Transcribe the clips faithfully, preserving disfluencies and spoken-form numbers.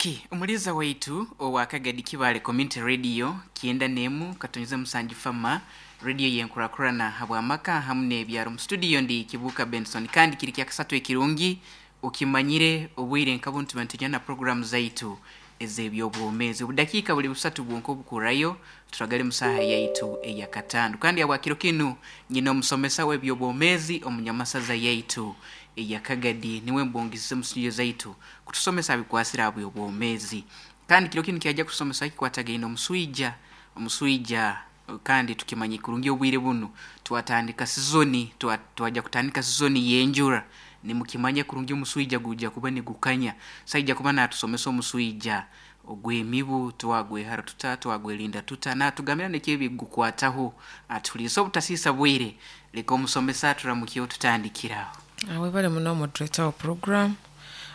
Okay, omuliza waitu owa Kagadi Kibale Community Radio kyenda nemu katonyeza musanju fama radio yenkurakurana habwamaka hamu n'ebyaro. Mu studio ndi Kibuka Benson, kandi kiri kya kasatu ekirungi okimanyire obwire nkabuntu tuba na program zaitu ez'ebyobwomeezi. Obudakiika buli busatu bwonka obukurayo turagale musaha yaitu eyakatano, kandi abwakiro kinu nyina omusomesa w'ebyobwomeezi omunyamasaza yaitu eyakagadi niwe mbongisize mu studio zaitu kutusomesa abikwasira abyobwomeezi. Kandi kiro kinu kyajja kutusomesa kikwatagaine omuswija omuswija kandi tukimanyi kurungi obwire bunu twatandika sizoni, twajja kutandika sizoni y'enjura, nimukimanya kurungi omuswija gujja kuba nigukanya. Saija kuba natusomesa omuswija ogw'emibu, twagwehara tuta, twagwerinda tuta, natugambira nekyo ebigukwataho. Atuhulirise obutasiisa bwire, leka omusomesa turamukyeho tutandikiraho. Webale muno, moderator wa program.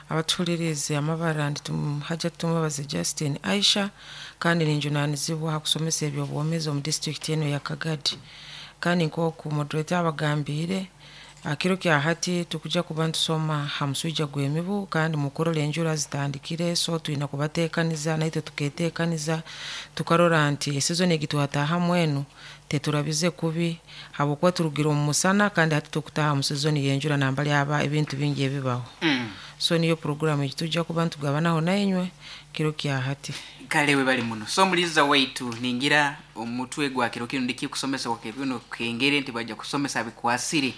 Abatuhulirize, amabara ndi Hajat Tumwebaze Justin Aisha, kandi ninjunanizibwa ha kusomesa ebyobwomeezi omu disitulikiti eno ya Kagadi. Kandi nk'oku moderator abagambiire, kiro kya hati tukujja kuba ntusoma ha muswija gw'emibu. Kandi mukurora enjura zitandikire, so twina kubateekaniza, naitwe tuketeekaniza, tukarora nti esizoni egi twataahamu enu teturabize kubi, habwokuba turugire omu musana kandi hati tukutaaha mu sizoni y'enjura nambali aba ebintu bingi ebibaho. mm. So niyo puroguramu egi tujja kuba ntugabanaho nainywe kiro kya hati. Kale webali muno. So omuliza waitu, ningira omutwe gwa kiro kinu ndikikusomesa kwa kino kengere nti bajja kusomesa bikwasire.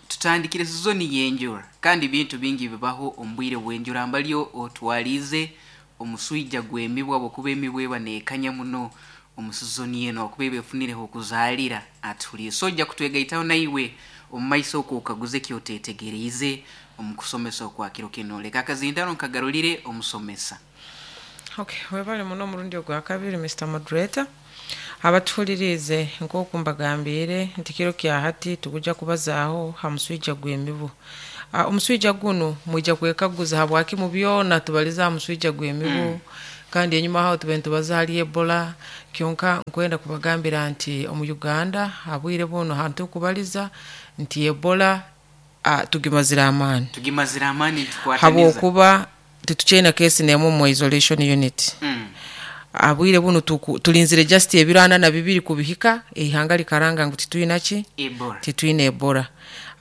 Tutandikire sizoni y'enjura kandi bintu bingi bibaho omu bwire bw'enjura, mbalyo otwalize omuswija gw'emibwa, bwokuba emibwa eba neekanya muno omu sizoni eno okuba eba efunireho okuzaalira. Atuhuliire, so ojja kutwegaitaho naiwe omu maiso okwo okaguze kyoteetegereize omu kusomesa okwa kiro kino. Leka akazindano nkagarulire omusomesa. Okay, webale muno omurundi ogwa kabiri, Mister Moderator. Abatuhulirize, nk'oku mbagambiire nti kiro kya hati tukujja kubazaaho ha muswija gw'emibu. uh, omuswija gunu mwija kwekaguza habwaki mu byona tubaliza ha muswija gw'emibu mm. kandi enyuma aho tube nitubaza hali Ebola. Kyonka nkwenda kubagambira nti omu Uganda habwire buno hantu tukubaliza nti Ebola uh, tugimazire amaani. Tugimazire amaani, ntukwataniza. Habwokuba titukyena kesi nemu mu isolation unit. mm. Abwire buno tuku- tulinzire just ebiro ana na bibiri kubihika, eihanga likaranga ngu titwina ki? Ebola. Titwina Ebola.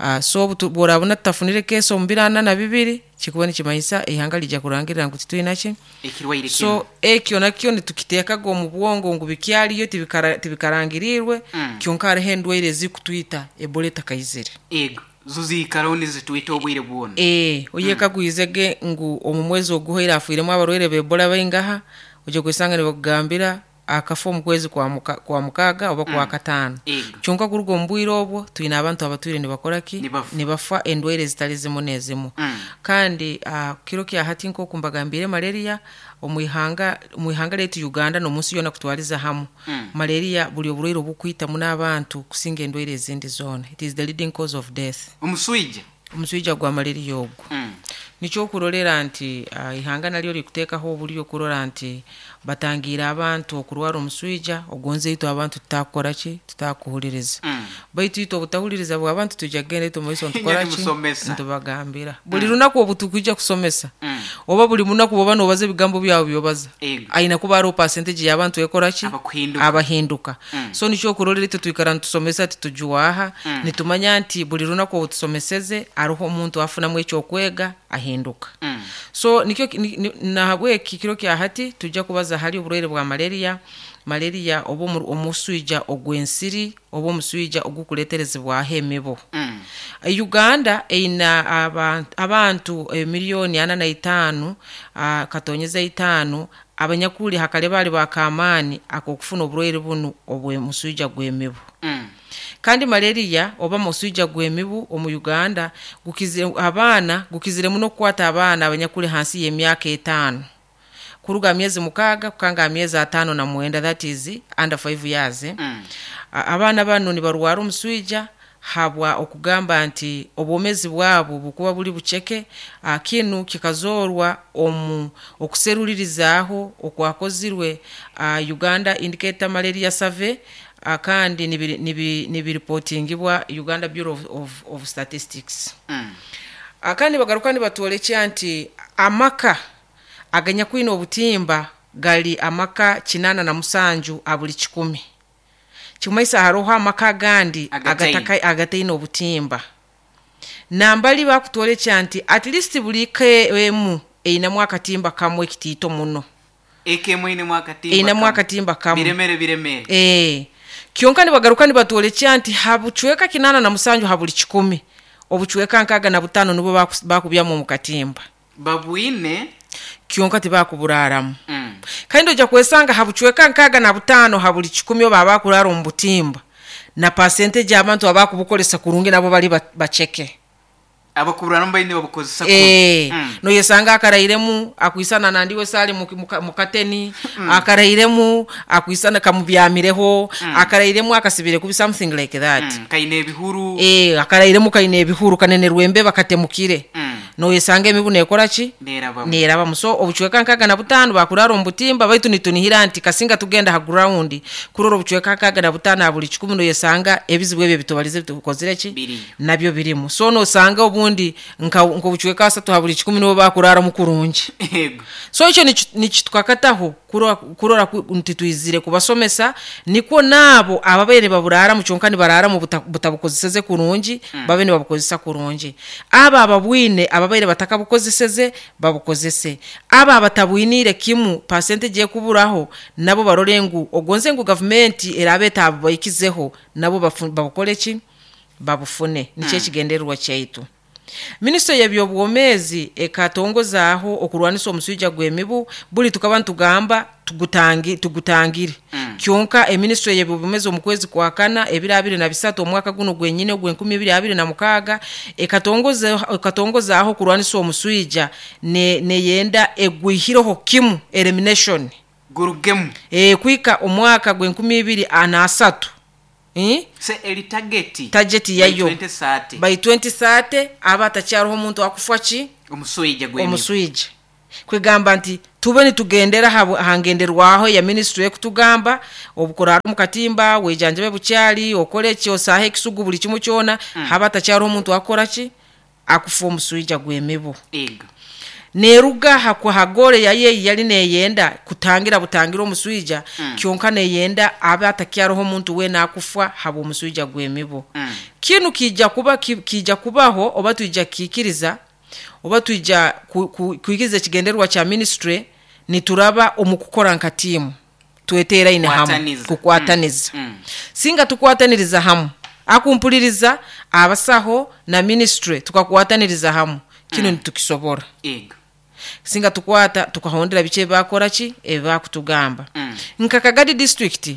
uh, so obu tu- bworabona tutafunire kesi omu biro ana na bibiri, kikuba nikimanyisa eihanga lijja kurangirira ngu titwina ki? Ekirwaire. So ekyo nakyo nitukiteekaga omu bwongo ngu bikyaliyo, tibikara- tibikarangirirwe. Mm. Kyonka hariho endwaire ezikutwita Ebola etakaizire. Ego zo ziikaraho nizitwita obwire bwona. Ee, oyekagwizege ngu omu mwezi oguhoire afuiremu abarwaire ba Ebola baingaha? Ojja kwesanga nibakugambira akafa omu kwezi kwa muka- kwa mukaaga oba kwa kataano. Ego. Kyonka kuruga omu bwire obwo twine abantu abatwire nibakora ki? Nibafa. Nibafa endwaire ezitali zimu n'ezimu. Mm. Kandi uh, kiro kya hati nk'oku mbagambire, malaria omu ihanga omu ihanga lyaitu Uganda n'omunsi yoona kutwaliza hamu, Mm. malaria buli oburwaire obukwita muno abantu kusinga endwaire ezindi zoona. It is the leading cause of death. Omuswija. Omuswija gwa malaria ogwo. mm. Nikyo okurolera nti uh, ihanga nalyo likuteekaho oburyo okurora nti batangiire abantu okurwara omuswija ogonze. Itwe abantu tutakukora ki? Tutakuhuliriza. Mm. Baitu itwe obutahuliriza bw'abantu, tujja kugenda itwe mumaiso ntukora ki? Nimusomesa. Ntubagambira buli lunaku obu tukwijja kusomesa Mm. oba buli munaku bwoba nobaza ebigambo byawe byobaza, Ego. aina kuba hariho percentage y'abantu ekora ki? Abakuhinduka. Abahinduka. Mm. So nikyo okurolera itwe twikara nitusomesa, titujwaha. Mm. Nitumanya nti buli lunaku obu tusomeseze hariho omuntu afunamu ekyokwega ahinduka. Mm. So nikyo ni- ni- nahabweki kiro kya hati tujja kubaza hali oburwaire bwa malaria malaria oba omu- omuswija ogw'ensiri oba omuswija ogukuleterezebwaho emibu. Mm. Uganda eina abantu, abantu emiliyoni ana na itaano ah, katonyeza itaano abanyakuli hakale bali bakamaani ak'okufuna oburwaire bunu obw'omuswija gw'emibu. Mm. Kandi malaria oba muswija gw'emibu omu Uganda gukizire abaana, gukizire muno okukwata abaana abanyakuli hansi y'emyaka etaano, kuruga myezi mukaaga kukanga myezi ataano na mwenda, that is under five years, eh? Mm. A- abaana bano nibarwara omuswija habwa okugamba nti obwomezi bwabo bukuba buli buceke. ah, kinu kikazoorwa omu okuserulirizaaho okwakozirwe uh, Uganda Indicator Malaria Survey, uh, kandi nibiri- nibi- nibiripotingibwa Uganda Bureau of, of, of Statistics. Mm. Ah, kandi bagaruka nibatwolekya nti amaka Aganyakwine obutimba gali amaka kinana na musanju abuli kikumi. Kimaisa haroho amaka agandi Agataine. agataka- agataine obutimba. Nambali bakutwolekya nti at least buli ka emu einemu akatimba kamwe ekitiito muno. Eka emwe einemu akatimba Einemu kamwe. akatimba kamwe. Biremere biremere. Eh, kyonka nibagaruka nibatwolekya nti habucweka kinana na musanju ha buli kikumi, obucweka nkaaga na butaano nibwo baku- bakubyamu omu katimba. Babwine. Kyonka tibakuburaaramu. Mm. Kandi ojja kwesanga ha bucweka nkaaga na butaano ha buli kikumi oba abakuraara omu butimba, na percentage abantu abakubukolesa kurungi nabo bali ba- baceke. Abakuburaramu baine babukozesa Eh, kubi. Mm. noyesanga akarairemu akwisana nandiwe sali mu- mu- mukateni, akarairemu akwisana kamubyamireho, akarairemu akasibire kubi, something like that. Mm. Kaine ebihuru. Eh, akarairemu kaine ebihuru, kanenerwa embeba katemukire. Mm. Noyesanga emibu nekora ki? Nerabamu. Nerabamu. So obucweka nkaaga na butaano bakurara omu butimba, baitu nitunihira nti kasinga tugenda ha ground kurora obucweka nkaaga na butaano ha buli kikumi, noyesanga ebizibu ebyo bitubalize tukozire ki? Biriyo. Nabyo birimu. So nosanga obundi nka nk'obucweka asatu ha buli kikumi nibo bakuraramu kurungi. Yego. So ekyo niki- nikitukakataho kurora, kurora ku- nti twizire kubasomesa, nikwo naabo ababaire baburaramu kyonka nibararamu buta- butabukozeseze kurungi, babe nibabukozesa kurungi. Abo ababwine ababaire batakabukozeseze babukozese, abo abatabwiniire kimu percentage ekuburaho nabo barore ngu ogonze ngu gavumenti erabe etabaikizeho nabo bafu- babukore ki? Babufune. Nikyo ekigendererwa kyaitu. Minisitule y'ebyobwomeezi ekatongozaaho okurwanisa omuswija gw'emibu. Buli tukaba nitugamba tugutangi, tugutangire. Mm. Kyonka eminisitule y'ebyobwomeezi omu kwezi kwa kana ebiro abiri na bisatu omwaka guno gwenyine ogw'enkumi ibiri abiri na mukaaga ekatongoza- ekatongozaaho okurwanisa omuswija ne- neyenda egwihireho kimu, elimination. Gurugemu. E, kwika omwaka gw'enkumi ibiri ana asatu. Eh? Se eri target. Target By yayo. twenty thirty. By twenty thirty aba atakyariho omuntu akufa ki? Omuswija gw'emibu. Omuswija. Kwegamba nti tube nitugendera ha- ha ngenderwaho ya ministry ekutugamba obukurara omu katimba, wejanjabe bukyali, okore ki, osaahe ekisugu, buli kimu kyona, haba atakyariho omuntu akora ki? Akufa omuswija gw'emibu. Ego. Neruga ha hagore yaye yali neyenda kutangira butangira omuswija, Mm. kyonka neyenda abe atakyariho omuntu weena akufa haba omuswija gw'emibu. Mm. Kinu kijja kuba ki- kijja kubaho oba twija kikiriza oba twija ku- ku- kwikiriza ekigendererwa kya ministry, nituraba omu kukora nka tiimu tweteraine hamu. Kukwataniza. Kukwataniza. Mm. Mm. Singa tukwataniriza hamu, akumpuliriza abasaho na ministry tukakwataniriza hamu, kinu nitukisobora. Ego. Singa tukwata tukahondera biki ebakora ki ebakutugamba. Mm. Nka Kagadi district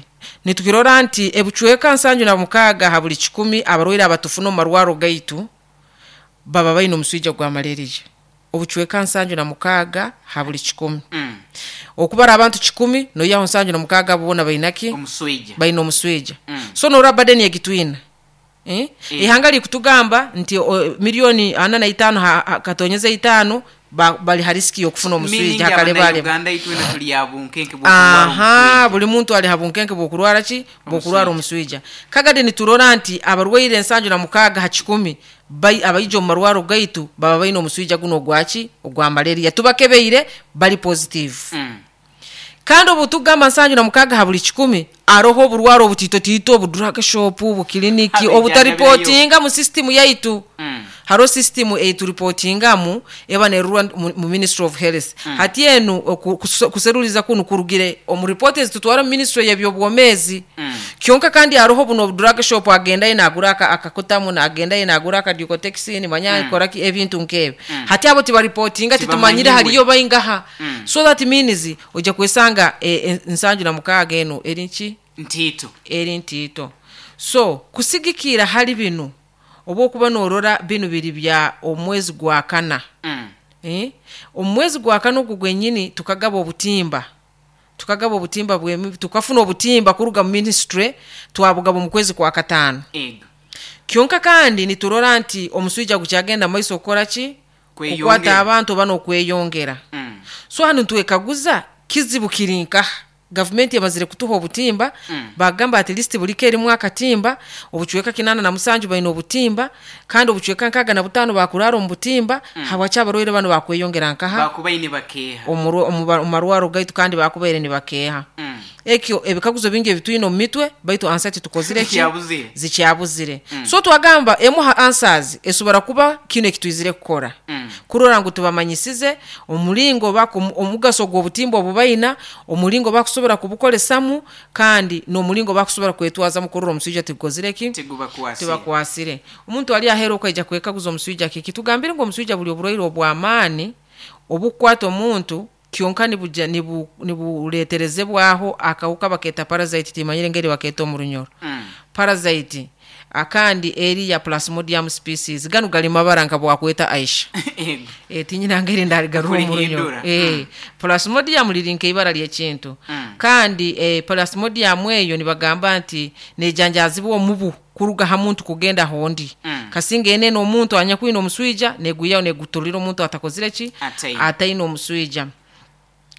nitukirora nti ebucweka nsanju na mukaaga ha buli kikumi abarwaire abatufuna omu marwaro gaitu baba baine omuswija gwa malaria. Obucweka nsanju na mukaaga ha buli kikumi. Mm. Okubara abantu kikumi noyaho nsanju na mukaaga boona bainaki? Omuswija. Baine omuswija. Mm. So noraba badeni egitwina. Eh? Eh. Ihanga likutugamba nti o, milioni ana na itaano ha, ha, katonyeza itaano ba, bali ha riski y'okufuna Meaning omuswija hakalebale. Uganda itwena tuli abunkenke bw'okurwara Aha, omuswija. buli muntu ali ha bunkenke bw'okurwara ki? Bw'okurwara omuswija. Kagadi niturora nti abarwaire ensanju na mukaaga ha kikumi bai- abaija omu marwaro gaitu baba baine omuswija guno ogwaki? Ogwa malaria. Tubakebeire bali positive. Mm. Kandi obu tugamba nsanju na mukaaga ha buli kikumi, aroho oburwaro obutitotiito, obudrug shop, obukiliniki Abijanja obutaripotinga mu system yaitu. Mm. Haro system eituripotingamu eba nerurwa mu, mu Ministry of Health. Hati enu oku- kuso- kuseruliza kunu kurugire omu report ezitutwara mu ministry y'ebyobwomeezi. Mm. Kyonka kandi haroho buno drug shop agendayo nagura aka- akakutamu, nagendayo nagura akadiokotexin, manya Mm. akora ki ebintu nk'ebyo. Hati abo tibaripotinga, titumanyire Tibamanyiwe. hariyo baingaha. Mm. So that means ojja kwesanga e, nsanju na mukaaga eno eri nki? Ntiito. Eri ntiito. So kusigikira hali binu oba okuba norora binu biri bya omwezi gwa kana. Mm. Eh? Omwezi gwa kana ogwo gwenyini tukagaba obutimba, tukagaba obutimba bwemi, tukafuna obutimba kuruga mu ministry twabugaba mu kwezi kwa kataano. Ego. Kyonka kandi niturora nti omuswija gukyagenda maiso okukora ki? Kweyongera. Kukwata abantu oba n'okweyongera. Mm. So hanu nitwekaguza kizibu kiri nkaha? Gavumenti emazire kutuha obutimba. Mm. Bagamba at least buli ka erimu akatimba. Obucweka kinana na musanju baine obutimba, kandi obucweka nkaaga na butaano bakurara omu butimba. Habwaki abarwaire banu bakweyongera nkaha? Bakubaine bakeeha. Omu omu ba- omu marwaro gaitu, kandi bakubaire nibakeeha. Mm. Ekyo ebikaguzo bingi ebitwine omu mitwe, baitu answer titukozire ki? Zikyabuzire. Zikyabuzire. So twagamba emu ha answers esobora kuba kino ekitwizire kukora, Mm. kurora ngu tubamanyisize omulingo baku omugaso gw'obutimba obubaina, omulingo bakusobora kubukolesamu, kandi n'omulingo bakusobora kwetwazamu kurora omuswija tigukozire ki? Tigubakwasire. Tibakwasire. Omuntu ali aheera okaija kwekaguza, omuswija kiki? Tugambire ngu omuswija buli oburwaire obw'amaani obukukwata omuntu, kyonka nibuja nibu nibuleeterezebwaho akawuka bakeeta parasite. Timanyire engeri bakeeta omu Runyoro. Mm. Parasite akandi eri ya Plasmodium species. Ganu gali mabara nka bwakweta Aisha. Ego. E, tinyina ngeri ndaligarura omu Runyoro. Kulihindura. E, Plasmodium liri nkeibara lyekintu. Mm. Kandi e, Plasmodium eyo nibagamba nti nejanjazibwa omubu kuruga ha muntu kugenda hondi. Mm. Kasinga enene omuntu anyakwine omuswija, neguyaho negutulira omuntu atakozire ki? Ataine. Ataine omuswija.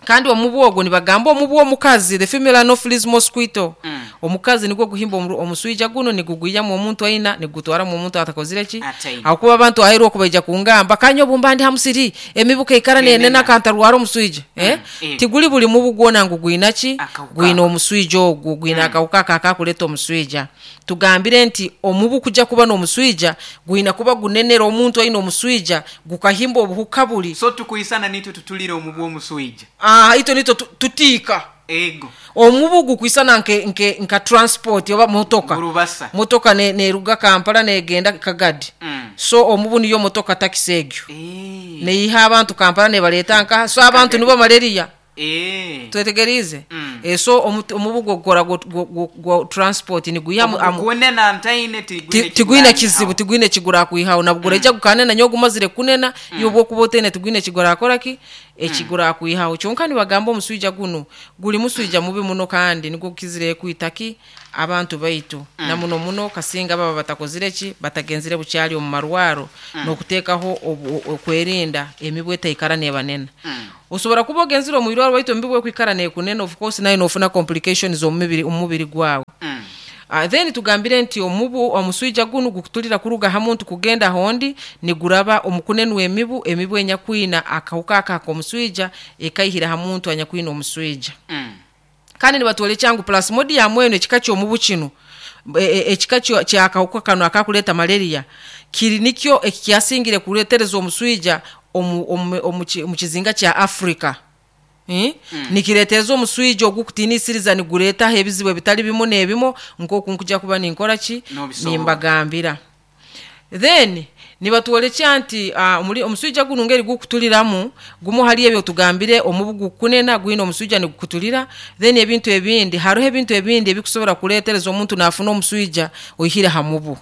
Kandi omubu ogwo nibagamba omubu omukazi, the female Anopheles mosquito. Mm. Omukazi nigwo guhimba omu- omuswija guno, niguguyamu omuntu aina, nigutwaramu omuntu atakozire ki? Ataine. Akuba abantu aheru okubaija kungamba kanya obumba ndi hamusiri, emibu keikara Nenena. nenena, kantarwara omuswija, eh? Eh. Tiguli buli mubu gwona ngu gwina ki? Akawuka. Gwina omuswija ogwo, gwina akawuka aka akakuleta omuswija. Tugambire nti omubu kujja kuba n'omuswija gwina kuba gunenera omuntu aina omuswija, gukahimba obuhuka buli. So tukuyisana nitwe tutulire omubu omuswija. Ah, ito nito tu- tutiika. Ego. Omubu gukwisana nke, nke, nka transport oba motoka. Gurubasa. Motoka ne- neruga Kampala negenda Kagadi. Mm. So omubu niyo motoka takisi egyo Eh. neiha abantu Kampala nebaleta nkaha. So abantu nibo malaria. Eh. Twetegerize? Mm. E, so omu- omubu gwokora gwo transport niguya Kunena ntaine tigwine. tigwine kizibu, tigwine kigura kwihaho nabwo. Mm. Gukanena nyo gumazire kunena mm. Iwe bwokuba otene, tigwine kigura akora ki ekigura kwihaho. Kyonka nibagamba omuswija guno guli muswija mubi muno, kandi nigwo gukizire kwita ki abantu baitu mm. Na muno muno kasinga baba batakozire ki? Batagenzire bukyali omu marwaro mm. N'okuteekaho obu- okwerinda emibu etaikara nebanena mm. Osobola kuba ogenzire omu irwaro, baitu emibu ekwikara nekunena, of course nayo nofuna complications omu mubiri omu mubiri gwawe. Mm. Uh, then tugambire nti omubu omuswija gunu gukutulira kuruga ha muntu kugenda hondi, niguraba omukunenwa emibu, emibu enyakwina akawuka aka ak'omuswija ekaihira ha muntu anyakwina omuswija. Mm. Kandi nibatwolekya ngu Plasmodium eno, ekika ky'omubu kino, e- e- ekika kyo- kyakawuka kano akakuleta malaria, kiri nikyo ekikyasingire kuletereza omuswija omu, omu, omu, ki- omu kizinga kya Africa. Eh? Mm. Nikiretereza omuswija ogukutinisiriza, nigureetaho ebizibu ebitali bimu n'ebimu, nk'oku nkujja kuba ninkora ki? Nobisobola. Nimbagambira. Then nibatwolekya nti uh, omuli omuswija guno ngeri gukutuliramu, gumu hali ebyo tugambire, omubu gukunena gwina omuswija nigukutulira. Then ebintu ebindi, hariho ebintu ebindi ebikusobora kuletereza omuntu nafuna omuswija oihire ha mubu.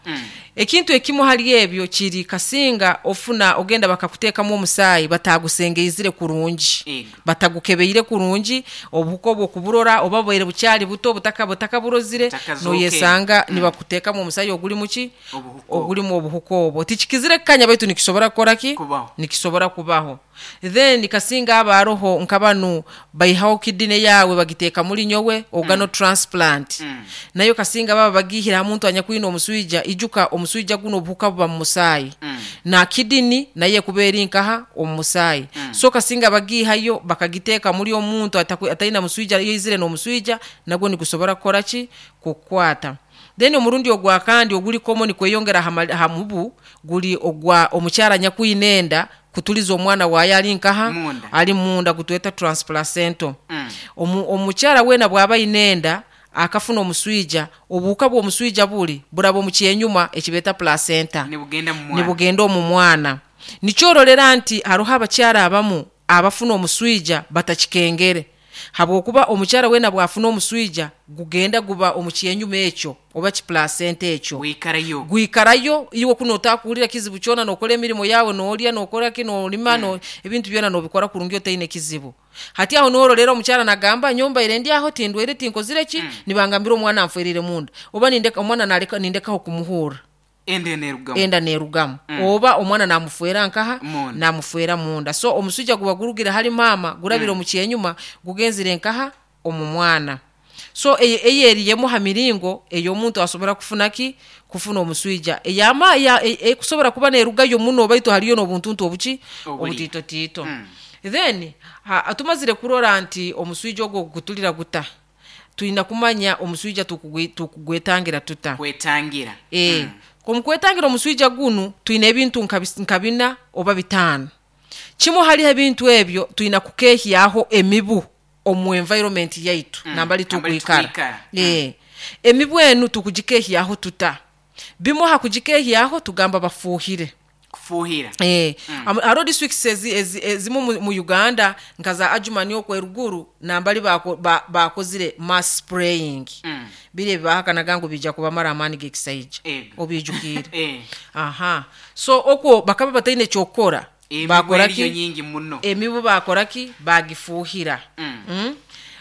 Mm. Ekintu ekimu hali ebyo kiri kasinga ofuna ogenda bakakuteekamu omusaayi batagusengeizire kurungi, Ego. batagukebeire kurungi, obuhuka obwo kuburora oba bwaire bukyali buto, butaka butakaburozire. Butakazookere. Noyesanga nibakuteekamu omusaayi oguli muki? Obuhuka. Ogulimu obuhuka obwo. Tikikizire kukanya, baitu nikisobora kukora ki? Kubaho. Nikisobora kubaho. Then kasinga aba aroho nkabanu baihaho kidney yawe bagiteeka muri nyowe, organ transplant. Mm. Nayo kasinga baba bagihira ha muntu anyakwina omuswija. Ijuka omuswija guno obuhuka buba mu musaayi, Mm. na kidney naye kuba eri nkaha? Omu musaayi. Mm. So kasinga bagihayo bakagiteeka muri omuntu ataku- atalina muswija, yoizire n'omuswija, nagwo nigusobora kukora ki? Kukwata. Then omurundi ogwa kandi oguli common kweyongera ha ma- ha mubu guli ogwa omukyala anyakwina enda kutuliza omwana waayo ali nkaha? Munda. Ali munda, gutweta transplacental. Mm. Omu- omukyala weena bw'aba ayina enda akafuna omuswija, obuhuka bw'omuswija buli buraba omu kyenyuma ekibeeta placenta. Nibugenda mu mwana. Nibugenda omu mwana. Nikyorolera nti hariho abakyala abamu abafuna omuswija batakikengere, habwokuba omukyala weena bwafuna omuswija gugenda guba omu kyenyuma ekyo oba kiplacenta ekyo. Wikarayo. Gwikarayo. Iwe kuno otakuwulira kizibu kyona, nokora emirimu yawe, nolya, nokora ki, nolima, no, ebintu byona nobikora kurungi otaine kizibu. Hati aho norolera omukyala nagamba, nyombaire ndi aho, tindwaire, tinkozire ki, nibangambira omwana nfwerire munda, oba nindeka omwana naleka nindekaho kumuhurra. Enda nerugamu. Enda nerugamu mm. Oba omwana namufwera nkaha? Munda. Namufwera munda. So omusujja guba gurugire hali maama, gurabire mm. omu kyenyuma, gugenzire nkaha? Omu mwana. So eyo eyo eri emu ha miringo ey'omuntu asobora kufuna ki, kufuna omuswija eyama ya- e- ekusobora kuba neerugayo muno, baitu haliyo n'obuntuntu obuki Obuli. Obutiitotiito. Mm. Then ha, tumazire kurora nti omuswija ogwo gukutulira guta, tulina kumanya omuswija tukugwe- tukugwetangira tuta. Kwetangira. E, Mm. Omu kwetangira omuswija gunu twine ebintu nka bis- nka bina oba bitaano. Kimu haliho ebintu ebyo, tulina kukehyaho emibu omu environment yaitu Mm, nambali nambali tukwikara. tukwikara. E, emibu enu tukugikehyaho tuta? Bimu ha kugikehyaho tugamba bafuuhire. Kufuuhira. Eh, mm. Hariho districts ezi- ezi- ezimu mu, mu Uganda nka za Adjumani okwo eruguru nambali bako- ba- bakozire mass spraying. Mm. Biri ebibahakanaga ngu bijja kubamara amaani g'ekisaija. Ego. Obijukiire? Eh. Aha, so okwo bakaba bataine kyokukora. Emibu Bakora eriyo ki? Nyingi muno. Emibu bakora ki? Bagifuuhira. Mm. Mm?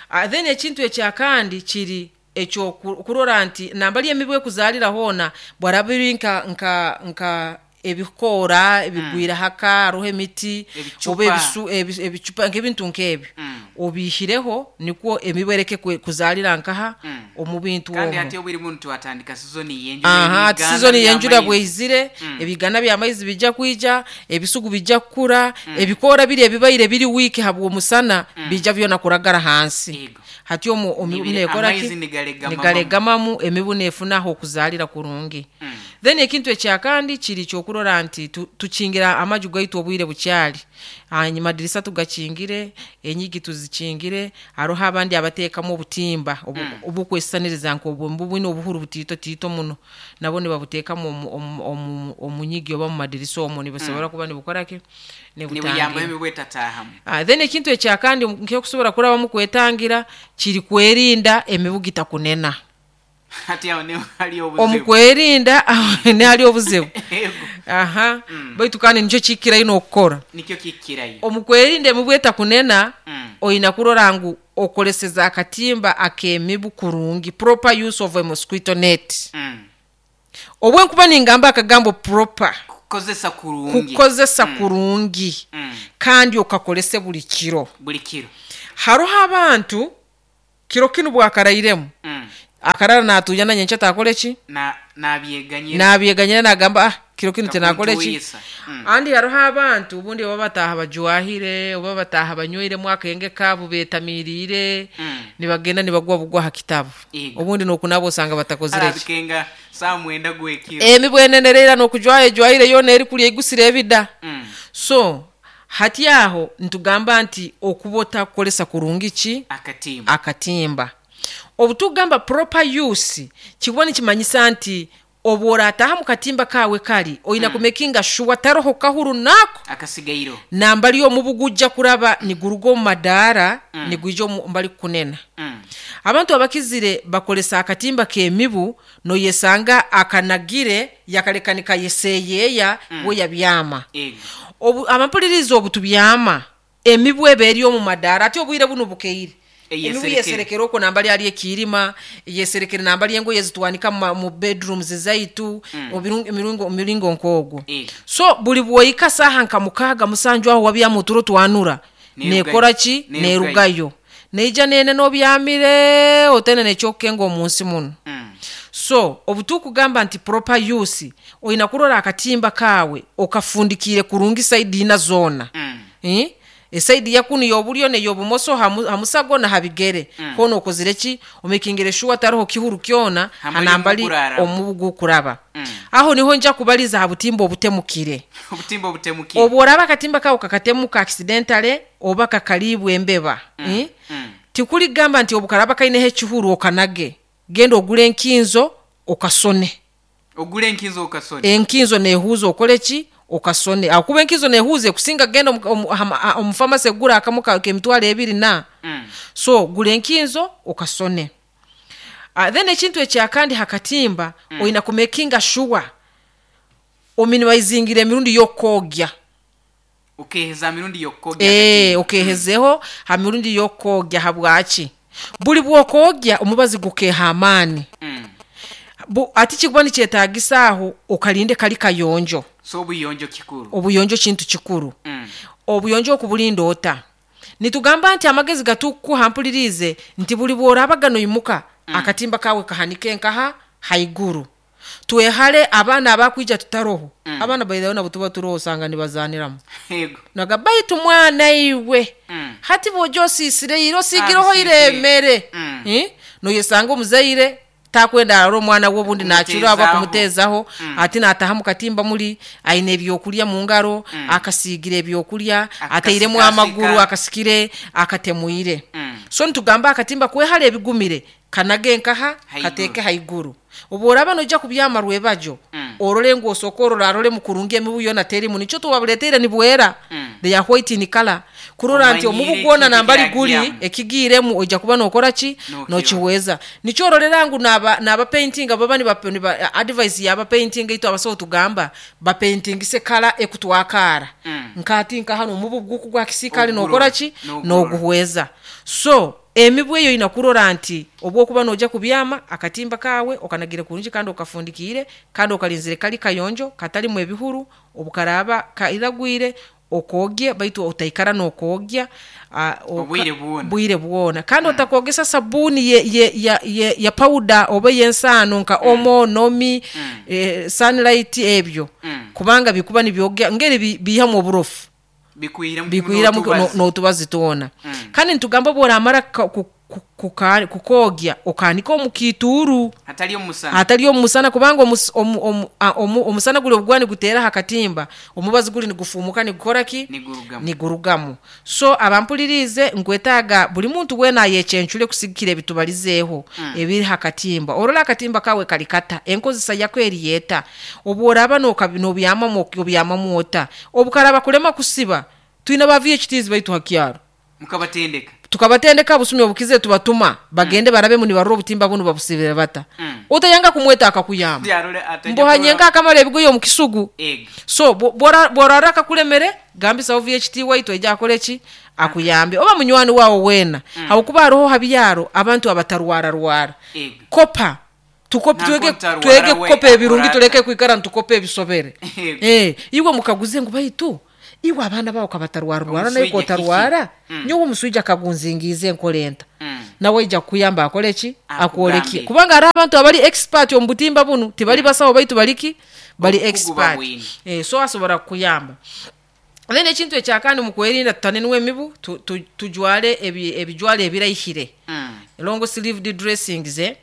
Ah, then ekintu ekyakandi kiri ekyokurora nti nambali emibu ekuzaalira hoona bwaraba biri nka nka nka ebikoora ebigwire haka, hariho emiti Ebicupa. oba ebisu ebi- ebicupa nk'ebintu nk'ebyo, Mm. obiihireho nikwo emibu ereke kwe- kuzaalira nkaha Mm. omu bintu Kandi omwo. ate obwire buno twatandika sizoni y'enjura. Aha, ati Ebiganda sizoni y'enjura by'amaizi. bweizire, Mm. ebigana by'amaizi bijja kwija, ebisugu bijja kukura, ebikoora biri ebibaire biri wiiki habw'omusana bijja byona kuragara hansi. Yego. Hati omu omibu Nibire- nekora amaizi ki? nigalegamamu. Nigalegamamu, emibu nefunaho okuzaalira kurungi. Mm. Then ekintu ekyakandi kiri kyokurora nti tu- tukingira amaju gaitu obwire bukyali, hanyuma dirisa tugakingire, enyigi tuzikingire. Hariho abandi abateekamu obutimba obu- Mm. obukwesisaniriza nk'obwo bwine obuhuru butiito tiito muno, nabo nibabuteekamu omu- omu- omu- omu nyigi oba mu madirisa omwo, nibusobora kuba nibukora ki? Nibuyamba Nibutangira. emibu etataahamu. Ah, then ekintu ekyakandi nk'okusobora kurabamu kwetangira kiri kwerinda emibu gitakunena. Ati awo niho hali obuzibu. Omu kwerinda aho nihali obuzibu. Ego. Aha, baitu kandi nikyo kikirayo n'okukora. Nikyo kikirayo. Omu kwerinda emibu etakunena, Mm. oyina kurora ngu okoleseza akatimba ak'emibu kurungi, proper use of a mosquito net. Mm. Obwenkuba ningamba akagambo proper, Kukozesa kurungi. kukozesa kurungi, Mm. kandi okakolese buli kiro. Buli kiro. Hariho abantu kiro kinu bwakarairemu, Mm. akarara natuya na nyenkya takore ki? Na nabyeganyira. Nabyeganyira nagamba, ah, kiro kinu tenakore ki. Kakuntuyisa. Mm. Andi hariho abantu obundi oba bataaha bajwahire oba bataaha banywairemu akenge kaabo betamiriire, Mm. nibagenda nibagwa bugwa ha kitabu. Ego. Obundi nokunaba osanga batakozire ki. Arabikenga saa mwenda gwekiro. Emibu enenereera nokujwayo ejwahire yoona eri kulya egusire ebida. Mm. So hati aho ntugamba nti okuba otakukolesa kurungi ki? Akatimba. Akatimba. Obu tugamba proper use, kikuba nikimanyisa nti obu orataha mu katimba kawe kali oyina mm. kumekinga sure taroho kahuru nako akasigairo. Nambali omubu gujja kuraba niguruga omu madaara mm. nigwija omu mbali kukunena. Mm. Abantu abakizire bakolesa akatimba k'emibu, noyesanga akanagire yakaleka nikayeseyeeya mm. we yabyama. Ego. Obu abampuliriza, obu tubyama emibu eba eri omu madaara, ate obwire buno bukeire, emibu Eyeserekere. Yeserekere okwo nambali ali ekiirima, yeserekere nambali engoye zitwanika mu ma- mu bedrooms zaitu, Mm. obirungi- emiringo emiringo nk'ogwo. Ego. So buli bwoyika saaha nka mukaaga musanju aho wabyamu oturo twanura, Nerugayo. nekora ki? Nerugayo. Nerugayo neija nene nobyamire otene nekyokukenga omu nsi muno. Mm. So obu tukugamba nti proper use, oyina kurora akatimba kaawe okafundikiire kurungi side ina zoona. Mm. Eh? Eside yakunu y'obulyo neyobumoso, hamu- hamusago na habigere, Mm. hoona okozire ki? Omekingire sure taroho kihuru kyona Hambali hanambali omubu guraraba. Omubu gukuraba. Mm. Aho niho nja kubaliza ha butimba obutemukire. Obutimba obutemukire. Obu oraba akatimba kawe kakatemuka accidentally oba kakaliibwa embeba, eh? Mm. Tikuligamba nti obukaraba kaineho ekihuru okanage, genda ogule enkinzo okasone. Ogule enkinzo okasone. Enkinzo nehuuza, okole ki? Okasone, akuba enkinzo nehuuza ekusinga genda omu- omu- hama- omu famasi egura akamu ka- k'emitwaro ebiri na. Mm. So gula enkinzo okasone. Uh, then ekintu ekyakandi hakatimba, mm. oyina kumekinga sure ominimizingira emirundi y'okwogya. Okeheza mirundi y'okwogya. Eh, okehezeho ha mirundi y'okwogya. Habwaki? Buli bw'okwogya omubazi gukeha amaani. Mm. Bu- ati kikuba nikyetagisa aho okalinde kali kayonjo. So obuyonjo kikuru. Obuyonjo kintu kikuru. Mm. Obuyonjo okubulinda ota? Nitugamba nti amagezi gatukuha mpulirize nti buli bworabaga noimuka mm. akatimba kawe kahanike nkaha haiguru. Twehale abaana abakwija tutaroho. Mm. Abaana baithayo nabo tuba turoho osanga nibazaniramu. Yego. Naga baitu mwana iwe. Mm. Hati bwojo osisire iro osigireho Ah, iremere. Mm. Eh? Noyesanga omuzaire takwenda arora omwana we obundi nachura aba Kumuteezaho. kumuteezaho Mm. ati nataha mu katimba muli aine ebyokulya mu ngaro Mm. akasiigira ebyokulya Akasikasika. ateiremu amaguru akasikire akatemuire. Mm. So nitugamba akatimba kwehara ebigumire kanage nkaha Haiguru. kateeke haiguru. Obu oraba noija kubyama rwebajo Mm. orole ngu osooka orora arole mukurungi emibu yona terimu nikyo tubabuleteire nibwera. Mm. They are white in color kurora nti Omanyire omubu gwona ekintu nambali guli ekiragiamu. ekigiiremu oija kuba nokora ki Nokirora. nokiweza. Nikyo ororera ngu naba naba painting baba niba niba advice yaba painting itu abasawo tugamba ba paintingise kala ekutwakara. Mm. Nkati nka hano omubu guku gwa kisikali Ogurora. nokora ki Nogurora. noguhweza. So emibu eyo ina kurora nti obwokuba noja kubyama akatimba kawe okanagire kurungi kandi okafundikire kandi okalinzire kali kayonjo katalimu ebihuru obukaraba kairagwire okogye baitu otaikara nokogya ah, oka- Obwire bwona. bwire bwona kandi mm. otakogesa sabuni ye, ye, ya, ye, ya powder oba yensaano nka mm. omo nomi Mm. eh, sunlight ebyo Mm. kubanga bikuba nibyogya ngeri bi- bihamu oburofu Bikwira mu bikwira mu- n'otubazi. no- n'otubazi twona. Mm. Kandi nitugamba bworamara ka- ku- ku- kuka- kukogya okanika omu kiituuru hatali omusana hatali omusana kubanga omus- omu- omu- a- omu- omusana guli obugwa niguteera aha katimba omubazi guli nigufumuka nigukora ki nigurugamu nigurugamu. So abampulirize nkwetaaga buli muntu weena ayekyencure kusigikira ebitubalizeeho Mm. ebiri ha katimba. Orora akatimba kawe kali kata enkozesa yako eriyeta obu oraba noka- nobyamamu obyamamu ota obukaraba kulema kusiba twina ba V H Ts baitu hakyaro mukabatendeka tukabatendeka busumi obukize tubatuma bagende mm. barabemu nibarora obutimba bunu babusibire bata. Mm. Otayanga kumweta akakuyamba Byarole atajja mbohanye kurora- nkakamara ebigoye omu kisugu. Ego. So bo- bora- borara akakulemere gambisaho V H T waitu ejja akole ki akuyambe oba munywani wawe weena. Mm. Habwokuba hariho habyaro abantu abatarwararwara. Ego. Kopa tukope Nanko twege ntarwara twege we kukopa ebirungi akorata. tuleke kwikara ntukope ebisobere. Ego. Eh, iwe mukaguze ngu baitu iwe abaana bawe kabatarwararwara naye Omuswija kotarwara kiki? Mm. nyowe omuswija akagunzingiize enkola enta. Mm. Nawe ija kukuyamba akole ki Akugambe. akwoleke kubanga hariho abantu abali expert omu butimba bunu tibali basawo baitu baliki bali Obukugu expert. babwine. Eh, so asobora kukuyamba. Then ekintu ekyakandi mu kwerinda tutanenwa emibu tu, tu, tujwale ebi, ebijwalo ebiraihire. Mm. Long sleeved dressings eh?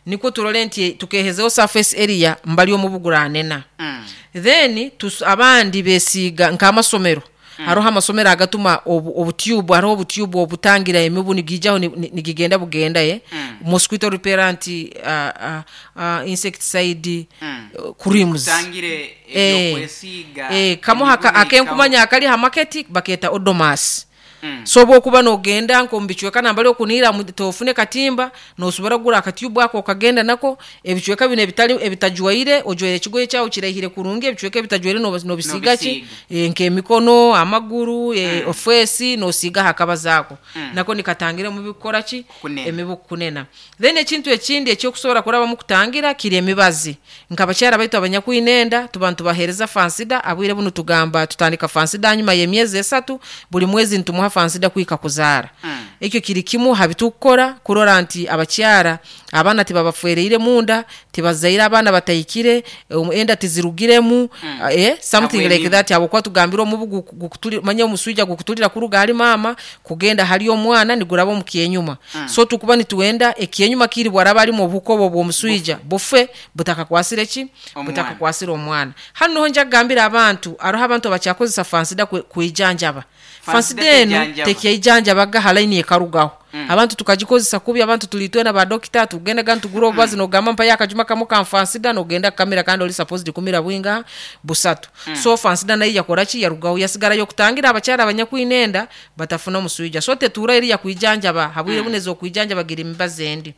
Nikwo turole nti tukehezeho surface area mbali omubu guranena. Mm. Then tus, abandi besiiga nk'amasomero. Mm. Hariho amasomero agatuma obu, obutube hariho obutube obutangira emibu nigijaho ni- ni- nigigenda bugenda ye. Mm. Mosquito repellent uh, uh, uh, insecticide Mm. uh, creams. Tangire Eh, ebyokwesiiga eh, kamu emibu haka- neikaho. akenkumanya akali ha market baketa odomas. Mm. So bwokuba nogenda nko mubicweka nambali okunira mu- tofune katimba nosobora kugura akatube ako okagenda nako ebicweka bino ebitali ebitajwaire ojwaire ekigoye kyawe kiraihire kurungi ebicweka ebitajwaire noba- nobisiga ki Nobisiga. e, nk'emikono amaguru e, mm. ofesi nosiga hakaba zaako. Mm. Nako nikatangira omubi kukora ki Kunena. emibu kunena. Then ekintu ekindi ekyokusobora kurabamu kutangira kiri emibazi nkabakyara baitu abanyakwinenda tuba nitubaheereza fansida abwire bunu tugamba tutandika fansida hanyuma y'emyezi esatu buli mwezi nitumuha fansida kwika kuzaara. Mm. Ekyo kiri kimu habitukukora kurora nti abakyara abaana tibabafwereire munda tibazaire abaana batahikire um, enda tizirugiremu Mm. eh, something Habwe like emibu. that habwokuba tugambire omubu guku- gukutuli-, manya omuswija gukutulira kuruga hali maama kugenda hali omwana niguraba omu kyenyuma. Mm. So tukuba nituwenda ekyenyuma kiri bwaraba alimu obuhuka obwo bw'omuswija bufe butakakwasire ki Omwana. butakakwasire omwana. Hanu niho nja kugambira abantu hariho abantu abakyakozesa fansida kwe-, kwijanjaba. Fansida Fansida eno teijanjaba. tekeijanjabaga ha line ekarugaho. Mm. Abantu tukagikozesa kubi abantu tulitwena ba dokita tugendaga ntugura obubazi Mm. nogamba mpayo akajuma kamwe ka fansida nogenda kukamira kandi oli supposed kumira bwinga busatu. Mm. So fansida nayo yakora ki yarugaho yasigarayo kutangira abakyara abanyakwinenda batafuna omuswija. So tetura eri yakwijanjaba habwire Mm. buneza okwijanjaba gira emibazi endi.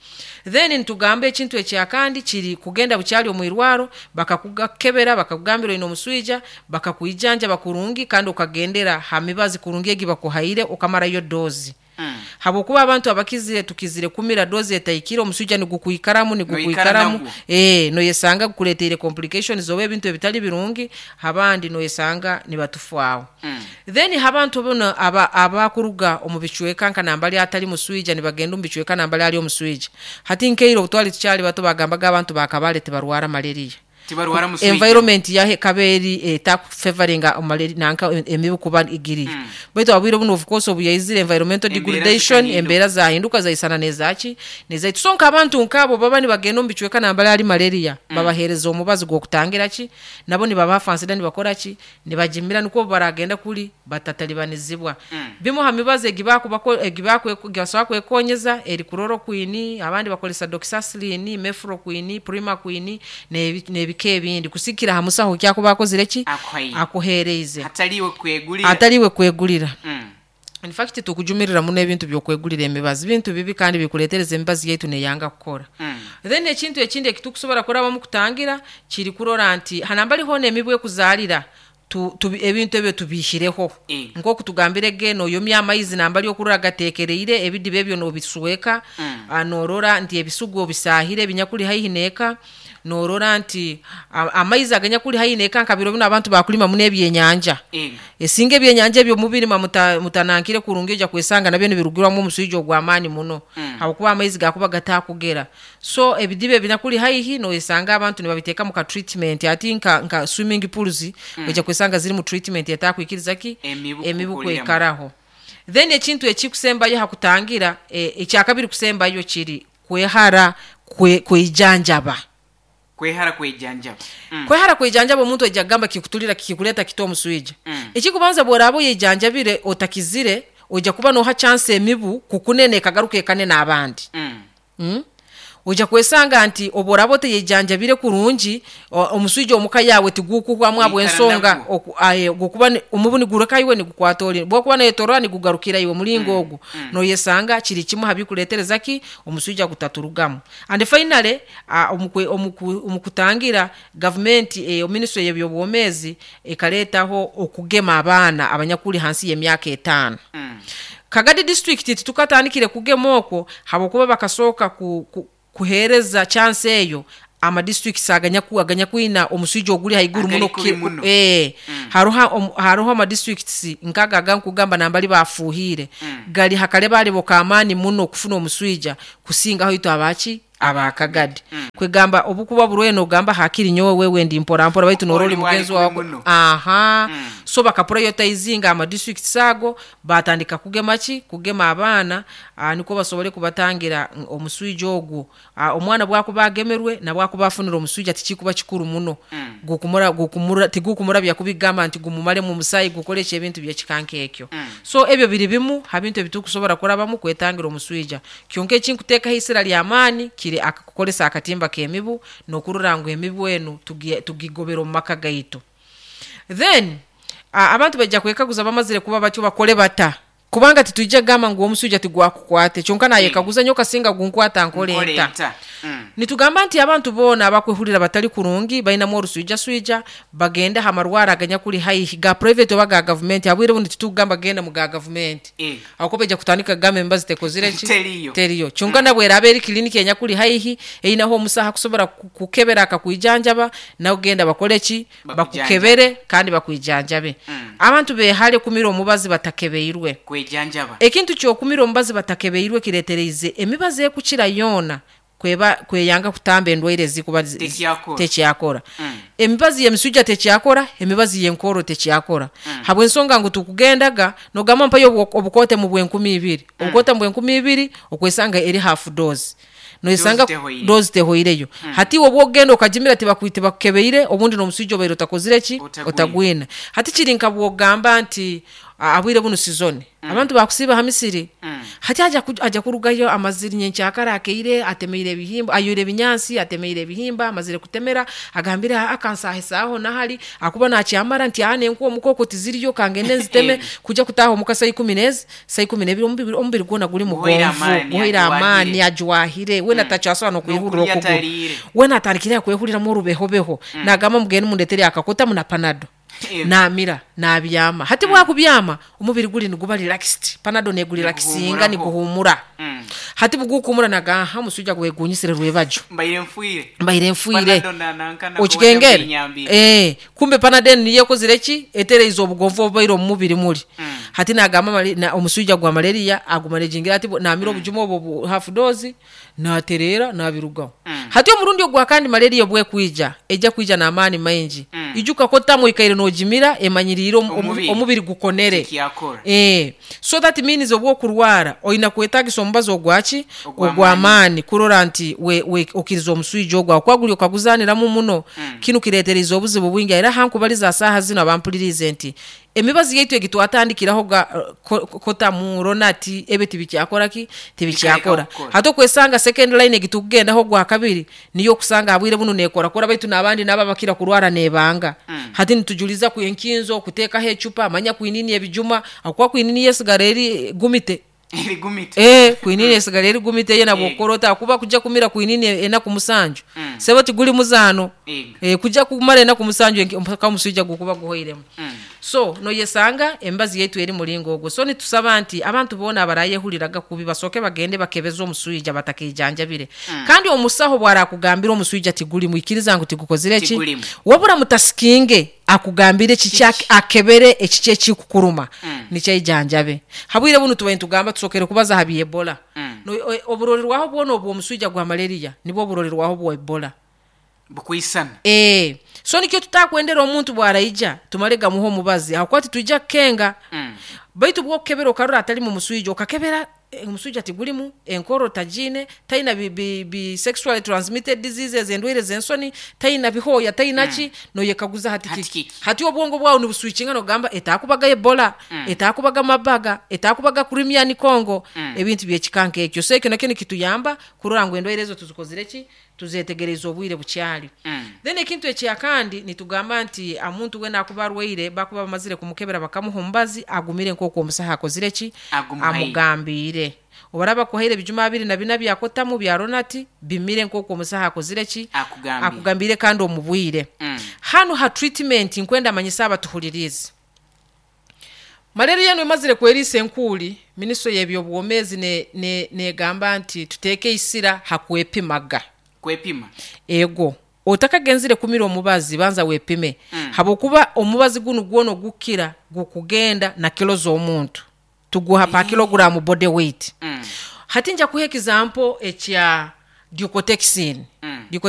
Then nitugamba ekintu ekyakandi kiri kugenda bukyali omu irwaro bakakugakebera bakakugambira oine omuswija bakakwijanjaba kurungi kandi okagendera ha mibazi kurungi egi bakuhaire okamarayo dozi. Mm. Habwokuba abantu abakizire tukizire kumira dozi etahikire, omuswija nigukwikaramu nigukwikaramu, nagwo. eh noyesanga gukuleteire complications oba ebintu ebitali birungi, abandi noyesanga nibatufaaho. Mm. Then abantu bono aba abakuruga omu bicweka nka nambali atali muswija nibagenda omu bicweka nambali ali omuswija. Hati nkeiro obutwali tukyali bato bagambaga abantu bakabale tibarwara malaria. Tibarwara muswija. Environment yahe kaberi etakufavoringa malaria nanka emibu kuba igiri. Mm. Baitu abwire buno of course obuyaizire environmental Embeera degradation, zikahinduka. Embeera zahinduka zaisana nezaki nezaitu. So nk'abantu nk'abo baba nibagenda omu bicweka nambali ali malaria, Mm. babahereza omubazi gw'okutangira ki, nabo nibabaha Fansidar nibakora ki, nibagimira nikwo baragenda kuli batatalibanizibwa. Mm. Bimu ha mibazi egibakubako egibasobola kwekonyeza eri chloroquine, abandi bakolesa doxycycline, mefloquine, primaquine n'ebi- n'ebika ebindi kusikira ha musaho kyakuba akozire ki, Akuhaire. Akuhereize. Hataliwe kwegulira. Ataliwe kwegulira. Mm. In fact tukujumirira muno ebintu byokwegulira emibazi, bintu bibi kandi bikuletereza emibazi yaitu neyanga kukora. Mm. Then ekintu ekindi ekitukusobola kurabamu kutangira kiri kurora nti hanambali hona emibu ekuzaalira tu, tu, ebintu ebyo tubihireho. Eh. Nk'oku tugambire ge noyomya amaizi nambali okurora gateekereire, ebidiba ebyo nobisweka. Mm. Ah, norora nti ebisugu obisahire ebinyakuli haihi neeka, norora nti a- amaizi aganyakuli haihi neeka nka biro bino abantu bakulima muno ebyenyanja. Eh. Esinga ebyenyanja ebyo mubirima muta, mutanankire kurungi, ojja kwesanga nabyo nibirugirwamu omuswija ogw'amaani muno. Mm. Habwokuba amaizi gakuba gatakugera. So ebidiba ebinyakuli haihi noyesanga abantu nibabiteeka mu ka treatment, ati nka, nka swimming pools. Mm. Ojja kwesanga ziri mu treatment etakwikiriza ki emibu emibu kukuliramu. Kwekaraho. Then ekintu ekikusembayo hakutangira, e, ekyakabiri kusembayo kiri kwehara kwe, kwejanjaba. Kwehara kwejanjaba. Mm. Kwehara kwejanjaba, omuntu ojja kugamba kikutulira kikuleta kito omuswija. Mm. Ekikubanza bworaba oyejanjabire otakizire, ojja kuba noha chance emibu kukunene ekagaruka ekanene abandi. Mm. Mm? Ojja kwesanga nti obworaba oteyejanjabire kurungi, o- omuswija omuka yawe tigukuhwamu Wikara abwensonga nagwo. oku- aye, gukuba ni- omubu nigureka iwe nigukwata ori bwokuba neyetorora nigugarukira iwe mulingo Mm, ogwo. mm. Noyesanga kiri kimu habikuletereza ki omuswija gutaturugamu. And finally, uh, omukwe, omuku, omukutangira gavumenti, eh, ministry y'ebyobwomezi ekaletaho okugema abaana abanyakuli hansi y'emyaka etaano. Mm. Kagadi district titukatandikire kugema okwo habwokuba bakasooka ku, ku, kuhereza chance eyo amadistricts aganyaku aganyakwina omuswija oguli haiguru Agali muno kubi kuki- muno. eh Mm. haruha om, haruho amadistricts nkaga agankugamba nambali bafuhire. Mm. Gali hakale bali bokamani muno okufuna omuswija kusingaho itu abaki abakagadi. Mm. Kwegamba obukuba burweno ogamba hakiri nyowe wewe ndi mpora mpora baitu noroli Oli wali mugenzi wawe kubi muno. Aha. Mm. So bakaprioritizinga ama districts ago batandika kugema ki kugema abaana, ah, niko basobole kubatangira mm, omuswija ogwo. Ah, omwana bwakuba agemerwe nabwakuba afunira omuswija tikikuba kikuru muno. Mm. Gukumura gukumura tigukumura byakubigamba nti gumumale mu musayi gukoresha ebintu byekikanka ekyo. Mm. So ebyo biri bimu ha bintu ebitukusobola kurabamu kwetangira omuswija. Kyonka ekinkuteekaho isira ly'amaani kiri akakukolesa akatimba k'emibu n'okurora ngu emibu enu tugi- tugigobera omu maka gaitu. Then a, abantu bajja kwekaguza bamazire kuba batyo bakole bata, kubanga titujja gamba ngu omuswija tigwakukwate, kyonka nayekaguza nyo kasinga gunkwata nkole Nkole nta. nta. Mm. Nitugamba nti abantu boona abakwehurira batali kurungi bainamu oruswijaswija bagende ha marwara aganyakuli haihi ga private oba ga gavumenti. Abwire buno titugamba genda mu ga gavumenti Eh. aho bajja kutandika kugamba embazi tekozire ki. Teriyo. Teriyo. Kyonka nabweraba eri kiliniki enyakuli haihi eyinaho omusaha kusobola ku- kukebera akakwijanjaba, nawe genda bakole ki, Bakujanjabe. bakukebere kandi bakwijanjabe. Mm. Abantu behale kumira omubazi batakebeirwe. Kwejanjaba. Ekintu kyokumira omubazi batakebeirwe kiretereize emibazi ekukira yoona kweba kweyanga kutamba endwaire ezikuba zi- Tekyakora. tekyakora. Mm. Emibazi y'emisujja tekyakora, emibazi y'enkoro tekyakora. Mm. Habw'ensonga ngu tukugendaga nogamba mpayo obu- obukote mu bwenkumi ibiri. Mm. Obukote mu bwenkumi ibiri okwesanga eri half dose, noyesanga Dose tehoire. dose tehoireyo. Mm. Hati iwe obwogenda okagimira tibakwite bakukebeire, obundi n'omusujja obaire otakozire ki, Otagwine. otagwina. Hati kiri nka bwogamba nti a- abwire buno sizoni Mm. abantu bakusiiba ha misiri. Mm. Hati aja ku- aja kurugayo amazire nyenkyakara akeire atemeire ebihimba, ayoire ebinyansi atemeire ebihimba, amazire kutemera agambire akansahisaho nahali akuba nakyamara nti aha nenkuwa omukoko tiziriyo kangende nziteme. Eh. Kujja kutaha omuka saa ikumi nezi saa ikumi nebiri, omubiri omubiri gwona guli Guhoire mugonvu, amaani, guhoire amaani, ajuwahire. ajuwahire wena Mm. tacyasobola nokwihurira N'okurya okuguru. atariire. Wena atandikire akwehuriramu orubehobeho. Mm. Nagamba mugende mundetere akakota muna panado. Eh. Namira nabyama. Hati bwakubyama, omubiri guli niguba relaxed, Panado negurelaxinga. Niguhumuraho. Niguhumura. Mm. Hati bugukumura, nagaha omusujja gwegunyisire rwebajo. Mbaire nfwire. Mbaire nfwire. Panado na- nankana. Okikengere. Nyambire. Eh, kumbe Panadol niyo ekozire ki? Etereize obugonvu obubaire omu mubiri muli. Mm. Hati nagamba mali- na- omusujja gwa malaria agumanejingira ati namira obujuma obwo bu half dose, naterera, nabirugaho. Mm. Hati omurundi ogwa kandi malaria bwekwija, ejja kwija n'amaani maingi. Mm. Ijuka kotamu ikaire nogimira, emanyiriire omu- omu- Omubiri. Omubiri gukonere. Kyakora. Eh, so that means obwokurwara oyina kwetagisa omubazi ogwaki? Ogw'amaani. Ogw'amaani, kurora nti we, we, okiriza omuswija ogwo akuba guli okaguzaniramu muno. Mm. Kinu kiretereza obuzibu bwingi. Era hankubaliza saaha zino abampulirize nti emibazi yaitu egi twatandikiraho ga ko- kotamu, Lonart, ebyo tibikyakora ki? Tibikyakora. Bikareka kukora. Hati okwesanga second line egi tukugendaho gwa kabiri niyo okusanga habwire buno nekorakora, baitu n'abandi nabo abakira kurwara nebanga. Mm. Hati nitujuliza ku enkinzo kuteekaho ecupa, manya kwinini ebijuma, akuba kwinini yesigara eri gumite. Erigumite. Eh, kwinini esigara eri gumite ye nabwo. Ego. Okorota akuba kujja kumira kwinini enaku musanju. Mm. Sebo, tiguli muzaano. Ego. Eh, kujja kumara enaku musanju enki- mpaka omusujja gukuba guhoiremu. Mm. So noyesanga embazi yaitu eri mulingo ogwo. So nitusaba nti abantu boona abarayehuriraga kubi basooke bagende bakebeze omuswija batakijanjabire. Mm. Kandi omusaho bwarakugambira omuswija tigulimu, ikiriza ngu tigukozire ki? Tigulimu. Wabura mutasikinge akugambire kiki, Kiki? akebere ekiki ekikukuruma. Mm. Nikyaijanjabe. Habwire bunu tubaye nitugamba tusokere kubaza ha byebola. Mm. No- o- oburolerwaho bwona obw'omuswija gwa malaria nibwo oburolerwaho bwa Ebola. Bukwisana. Eh, so nikyo tutakwendera omuntu bwaraija tumale gamuha omubazi, ahakuba titwija kukenga. Mm. Baitu bwokukebera okarora atali mu muswija, okakebera eh, omuswija tigulimu, enkoro tagine, taina bi, bi, bi sexually transmitted diseases, endwaire zensoni, taina bihoya, taina ki. mm. Noyekaguza hati Hati kiki? kiki? Hati obwongo bwawe nibuswikinga, nogamba etakubaga Ebola, Mm. etakubaga mabaga, etakubaga Crimean Congo. Mm. Ebintu byekikanka ekyo. So ekyo nakyo nikituyamba kurora ngu endwaire ezo tuzikozire ki? Tuzetegereza obwire bukyali. Mm. Then ekintu ekyakandi nitugamba nti omuntu wena akuba arwaire, bakuba bamazire kumukebera bakamuha omubazi, agumire nk'oku omusaha akozire ki? Agumuhaire. Amugambiire. Obaraba kuhaire ebijuma abiri na bina byakotamu, bya Lonart, bimire nk'oku omusaha akozire ki? Akugambire. Akugambire, kandi omubwire. Mm. Hanu ha treatment, nkwenda manyisa abatuhulirize, malaria eno emazire kweriisa enkuuli, minisitule y'ebyobwomeezi negamba ne, ne nti tuteeke isira hakwepimaga. Kwepima. Ego, otakagenzire kumira omubazi, banza wepime. Mm. Habwokuba omubazi gunu gwona ogukira gukugenda na kilo z'omuntu, tuguha pa kilogram body weight. Mm. Hati nja kuha example ekya Decotex. Mm.